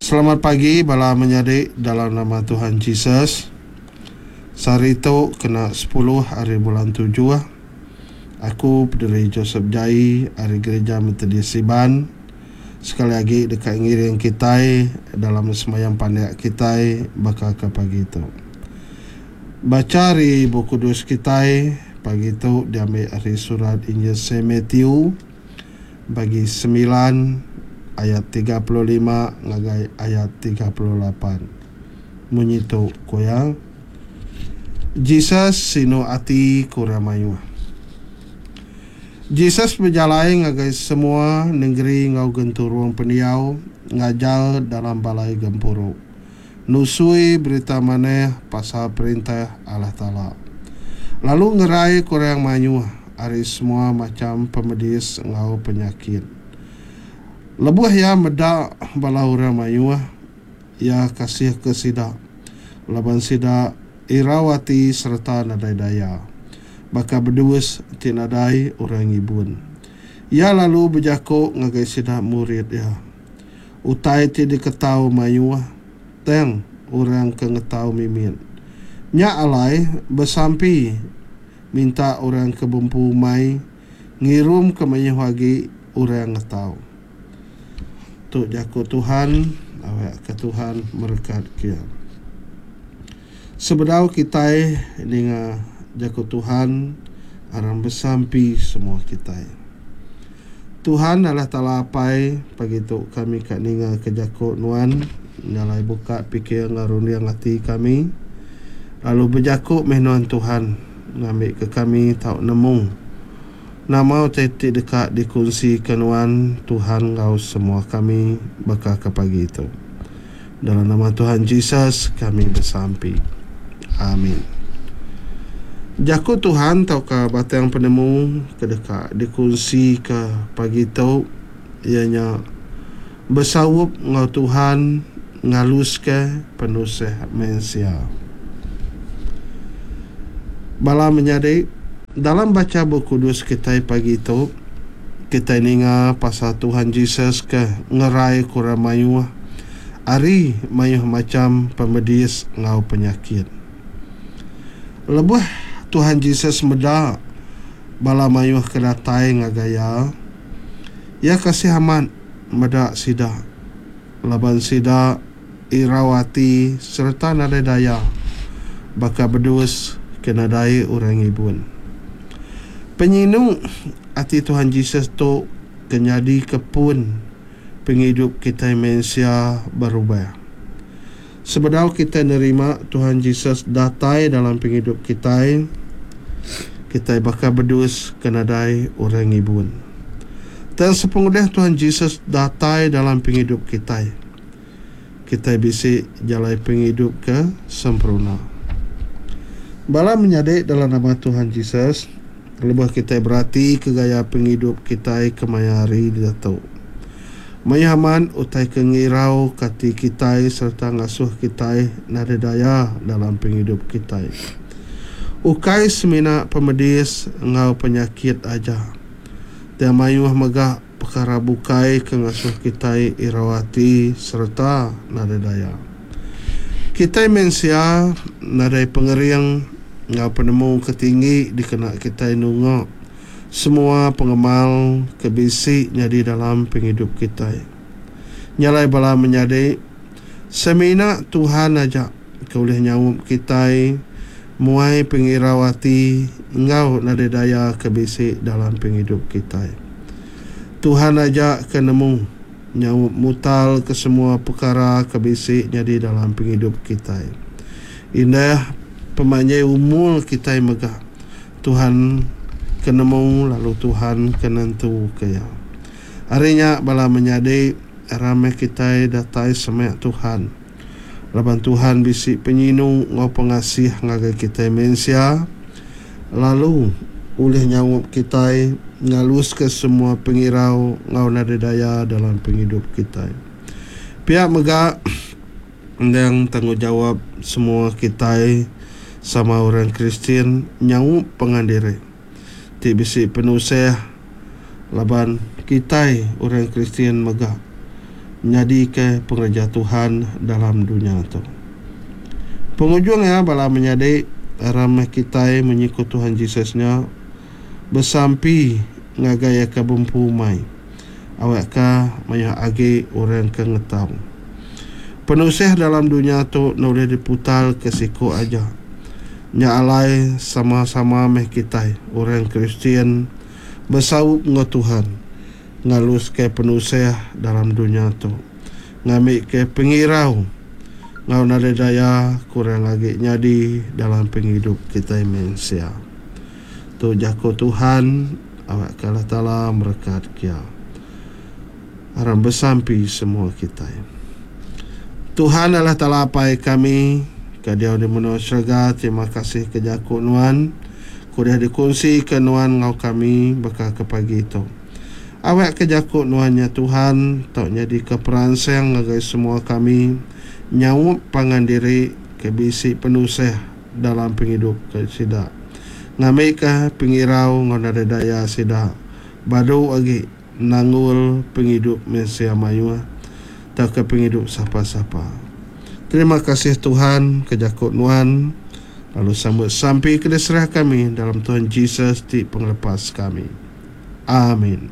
Selamat pagi bala menyadi dalam nama Tuhan Jesus. Sehari tu kena sepuluh ari bulan tujuh, aku Pederi Joseph Jai ari Gereja Methodist Iban sekali agi deka ngiring kitai dalam sembahyang pandak kitai baka ke pagi tu. Bacha ari Bup Kudus kitai pagi tu diambi ari surat Injil Saint Matthew bagi semilan ayat 35 ngagai ayat 38. Munyi tu ku iya, Jesus sinu ati ke orang mayuh. Jesus bejalai ngagai semua nengeri enggau genturung pendiau ngajar dalam balai gempuru, nusui Berita Manah pasal Perintah Allah Taala, lalu ngerai ke orang mayuh ari semua macham pemedis enggau penyakit. Lebuh iya meda bala orang mayuh, iya kasihka sida, laban sida irau ati sereta nadai daya, baka bedus ti nadai orang ngibun. Iya lalu bejaku ngagai sida murid iya, Utai ti diketau mayuh, tang orang ke ngetau mimit. Nya alai, besampi minta orang ke bempu umai ngirumka mayuh agi orang ngetau. Tu jaku Tuhan, awakka Tuhan merekatka iya. Sebedau kitai ninga jaku Tuhan, aram besampi semua kitai. Tuhan Allah Taala Apai, pagi tu kami ka ninga ke jaku Nuan, nyalai buka pikir enggau runding ati kami, lalu bejaku meh Nuan Tuhan, ngambika kami tau nemu nama utai ti deka dikunsika Nuan Tuhan enggau semua kami baka ke pagi tu. Dalam nama Tuhan Jesus kami besampi. Amin. Jaku Tuhan tauka batang penemu ke deka dikunsika pagi tu iya nya besaup enggau Tuhan ngaluska penusah mensia. Bala menyadi, dalam bacha Bup Kudus kitai pagi tu, Kitai ninga pasal Tuhan Jesus ke ngerai ke orang mayuh ari mayuh macham pemedis enggau penyakit. Lebuh Tuhan Jesus meda bala mayuh ke datai ngagai iya, iya kasih amat meda sida laban sida irau ati sereta nadai daya baka bedus ke nadai orang ngibun. Penyinu ati Tuhan Jesus tu ke nyadika pun pengidup kitai mensia berubah. Sebedau kitai nerima Tuhan Jesus datai dalam pengidup kitai, kitai baka bedus ke nadai orang ngibun. Tang sepengudah Tuhan Jesus datai dalam pengidup kitai, kitai bisi jalai pengidup ke sempurna. Bala menyadi dalam nama Tuhan Jesus, lebuh kitai beratika gaya pengidup kitai kemaya hari diatu, mayuh amat utai ke ngirauka ati kitai sereta ngasuh kitai nadai daya dalam pengidup kitai. Ukai semina pemedis enggau penyakit aja, tang mayuh mega Pekara bukai ke ngasuh kitai irau ati sereta nadai daya. Kitai mensia nadai pengering enggau penemu ke tinggi dikena kitai nunga semua pengemal ke bisi nyadi dalam pengidup kitai. Nya alai bala menyadi, semina Tuhan aja ke ulih nyaup kitai muai pengirau ati enggau nadai daya ke bisi dalam pengidup kitai. Tuhan aja ke nemu nyaup mutal ke semua pekara ke bisi nyadi dalam pengidup kitai. Indah pemanjai umur kitai mega Tuhan ke nemu lalu Tuhan ke nentuka iya. Ari nya bala menyadi ramai kitai datai semak Tuhan. Laban Tuhan bisi penyinu enggau pengasih ngagai kitai mensia, lalu ulih nyaup kitai ngaluska semua pengirau enggau nadai daya dalam pengidup kitai. Pia mega, endang tanggungjawap semua kitai sama orang Kristian nyaup pangan diri ti bisi penusah laban kitai orang Kristian mega. Nyadika pengereja Tuhan dalam dunya tu. Pengujung iya bala menyadi aram meh kitai munyi ku Tuhan Jesus nya besampi ngagai iya ke bempu umai awakka mayuh agi orang ke ngetau. Penusah dalam dunya tu enda ulih diputarka siku aja. Nya alai sama-sama meh kitai orang Kristian besaup enggau Tuhan ngaluska penusah dalam dunya tu ngambika pengirau enggau nadai daya kurang agi nyadi dalam pengidup kitai mensia. Tu jaku Tuhan awakka Allah Taala merekat kia. Aram besampi semua kitai. Tuhan Allah Taala Apai kami ke diau di menua serega terima kasih ke jaku nuan ke udah dikunsika nuan enggau kami baka ke pagi tu. Awakka jaku nuan nya Tuhan tau nyadika peransang ngagai semua kami nyaup pangan diri ke bisi penusah dalam pengidup ke sida ngambika pengirau enggau nadai daya sida badu agi nanggul pengidup mensia mayuh tauka pengidup sapa-sapa. Terima kasih Tuhan ke jaku nuan lalu sambut sampi ke diserah kami dalam Tuhan Jesus ti pengelepas kami. Amin.